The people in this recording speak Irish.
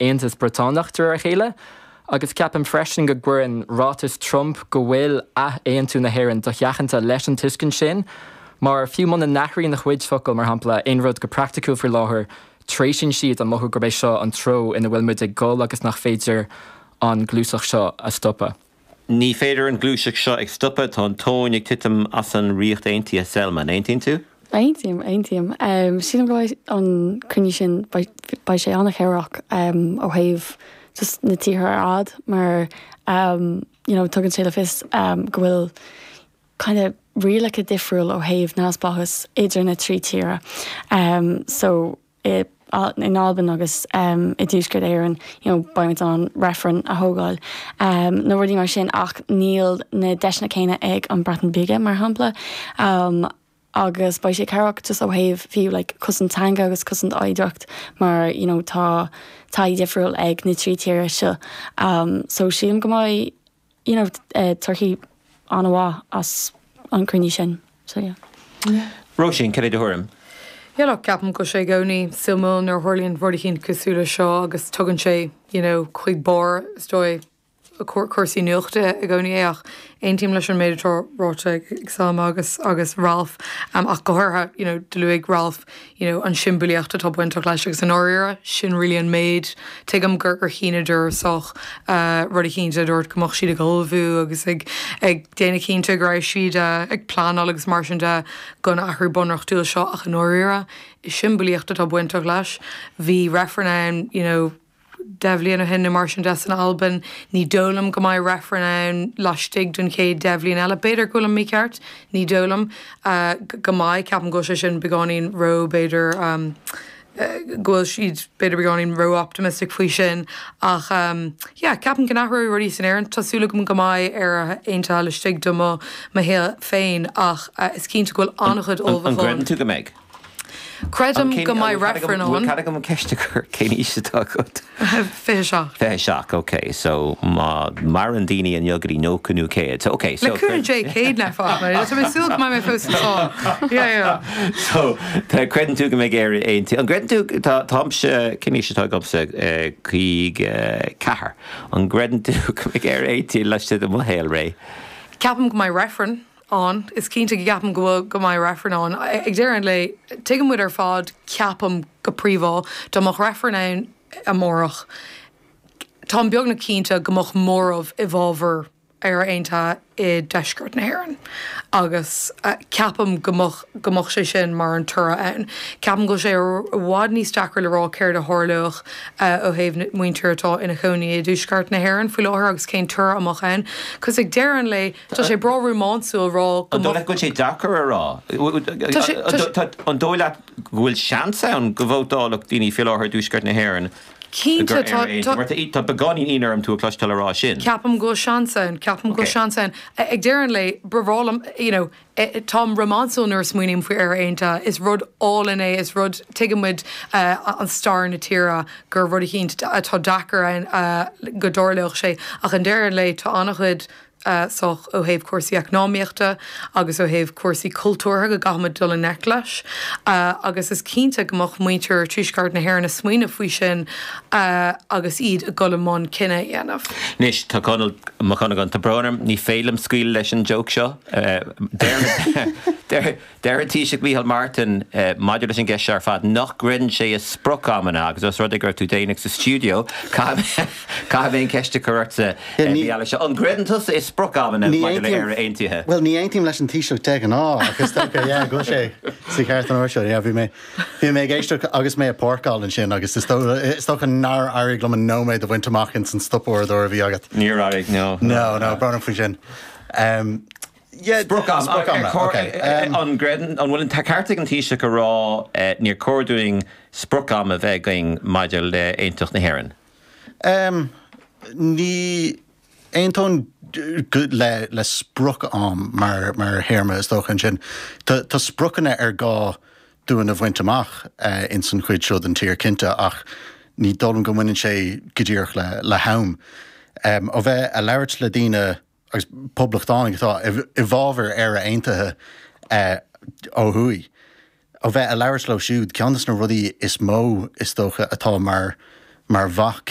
Aontas Briotánach de réir a chéile, agus ceapaim freisin go gcuireann ráiteas Trump go bhfuil ath-aontú na hÉireann dosheachanta leis an tuiscint sin, mar fiú muna n-athraíonn a chuid focal, mar shampla, aon rud go praiticiúil faoi láthair, treisíonn siad an mothú gurb é seo an treo ina bhfuil muid ag dul agus nach féidir an ghluaiseacht seo a stopadh. Ní féidir an ghluaiseacht seo ag stopadh, tá an tóin ag titim as an Ríocht Aontaithe, Selma, an aontaíonn tú? Aontaím, aontaím. Sílim go mbeidh an cruinniú sin, beidh sé an-chabhrach ó thaobh just na tíortha ar fad mar you know tugann sé le fios go bhfuil kind of rialacha difriúil ó thaobh neamhspleáchas idir na trí tíre. So i in Albain agus i dTuaisceart Éireann you know beimid in ann reifreann a thógáil nó rudaí mar sin ach níl na deiseanna céanna ag an Breatain Bhige mar shampla agus beidh sé cabhrach just ó thaobh fiú like cosaint teanga agus cosaint oidhreacht mar you know tá taithí difriúil ag na trí tíre seo so sílim go mbeidh you know, torthaí an-mhaith as an cruinniú sin. So yeah. Róisín, cad é do thuairim? Yeah look, ceapaim go bhfuil sé i gcónaí suimiúil nuair a tharlaíonn rud eicínt cosúil le seo agus tugann sé, you know, chuig barr, is dóigh, cúrsaí nuachta i gcónaí é ach aontaím leis an méid atá ráite ag Selma agus agus Ralph ach go háirithe, you know, do luaigh Ralph you know, an siombailíocht atá bainteach leis agus i ndáiríre, sin really an méid. Tuigim gur gur shíneadar sách rud eicínt a dúirt go mbeadh siad ag ullmhú agus ag ag déanamh cinnte go raibh siad ag pleanáil agus mar sin de don athrú bunreachtúil seo ach i ndáiríre, is siombailíocht atá bainteach leis. Bhí reifreann ann, you know, 10 bhliain ó shin nó mar sin de san Albain. Ní dóigh liom go mbeidh reifreann ann laistigh den chéad 10 bhliain eile. B'fhéidir go bhfuilim mícheart, ní dóigh liom go mbeidh. Ceapaim go bhfuil sé sin beagáinín ró, b'fhéidir, go bhfuil siad b'fhéidir beagáinín ró-optimistic faoi sin. Ach yeah, ceapaim go n-athróidh rudaí san Éirinn. Tá súil agam go mbeidh Éire aontaithe laistigh de mo mo shaol féin ach is cinnte go bhfuil an-chuid ullmhúcháin. An gcreideann tú go mbeidh? Creidim go mbeidh reifreann ann. Bhfuil cead agam an ceist a chur? Cén aois atá agat? 27. 27, ok. So má maireann daoine inniu go dtí 90 nó 100. So ok, so. Le cúnamh Dé, 100 ná fág mé. Tá mé ag súil go mbeidh mé fós anseo. Yeah, yeah. So tá, creideann tú go mbeidh Éire aontaithe. An gcreideann tú, tá, táimse, cén aois atá agamsa? 54. An gcreideann tú go mbeidh Éire aontaithe laistigh de mo shaolré? Ceapaim go mbeidh reifreann. ann. Is cinnte go gceapaim go bhfuil, go mbeidh reifreann ann. Ag deireadh an lae, tuigeann muid ar fad, ceapaim, go príomha, dá mbeadh reifreann ann amárach, táim beagnach cinnte go mbeadh móramh i bhfabhar Éire Aontaithe i dTuaisceart na hÉireann. Agus ceapaim go mbeadh, go mbeadh sé sin mar an toradh ann. Ceapaim go bhfuil sé i bhfad níos deacra le rá céard a tharlódh ó thaobh na muintir atá ina chónaí i dTuaisceart na hÉireann faoi láthair agus cén toradh a mbeadh ann. 'Cause ag deireadh an lae, Tá sé breá rómánsúil rá go An dóigh leat go bhfuil sé deacair a rá? Tá sé, tá sé. An dóigh leat go bhfuil seans ann go vótálfadh daoine faoi láthair i dTuaisceart na hÉireann Cinnte, gur tá, Éire tá. Mar tá beagáinín ionadh orm tú a chloisteáil a rá sin. Ceapaim go bhfuil seans ann, ceapaim go bhfuil seans ann. Ag deireadh an lae, ba bhreá liom, you know, táim rómánsúil nuair a smaoiním faoi Éire Aontaithe. Is rud álainn é, is rud, tuigeann muid an stair na tíre gur rud eicínt atá deacair ann go dtarlódh sé. Ach i ndeireadh an lae, tá an-chuid sách ó thaobh cúrsaí eacnamaíochta agus ó thaobh cúrsaí cultúrtha go gcaithfimid dul i ngleic leis agus is cinnte go mbeadh muintir Tuaisceart na hÉireann ag smaoineamh faoi sin agus iad ag dul i mbun cinneadh a dhéanamh. Anois, tá Conall Mac Dhonnagáin, tá brón orm, ní féidir liom scaoileadh leis an joke seo. Deir Deir an Taoiseach Micheál Martin maidir leis an gceist seo ar fad nach gcreideann sé i sprioc-amanna agus os rud é go raibh tú déanach sa stiúideo, caithfidh mé an cheist a chur ortsa, Micheál seo. An gcreideann tusa i sprioc-amanna maidir le Éire Aontaithe? Bhuel, ní aontaím leis an Taoiseach de ghnáth ach is dócha, yeah, go bhfuil sé sa cheart an uair seo. Yeah, bhí mé, bhí mé ag éisteacht agus mé ag páirceáil ansin agus is dócha nár éirigh liom an nóiméad a bhaint amach ins an stopuaireadóir a bhí agat. Níor éirigh, no. No, no, brón orm faoi sin. Sprioc-am, ok. An gcreideann, an bhfuil an ceart ag an Taoiseach a rá níor chóir dúinn sprioc-am a bheith againn maidir le aontacht na hÉireann? Ní aontóinn le sprioc-am mar théarma is dócha ansin. Tá spriocanna ar gá dúinn a bhaint amach ins an chuid seo den tír cinnte ach ní dóigh liom go mbaineann sé go díreach le ham. Ó bheith a' labhairt le daoine agus poblachtánaigh atá i bhfabhar Éire Aontaithe ó thuaidh, ó bheith a' labhairt leo siúd, ceann de na rudaí is mó is dócha atá mar. mar bhac.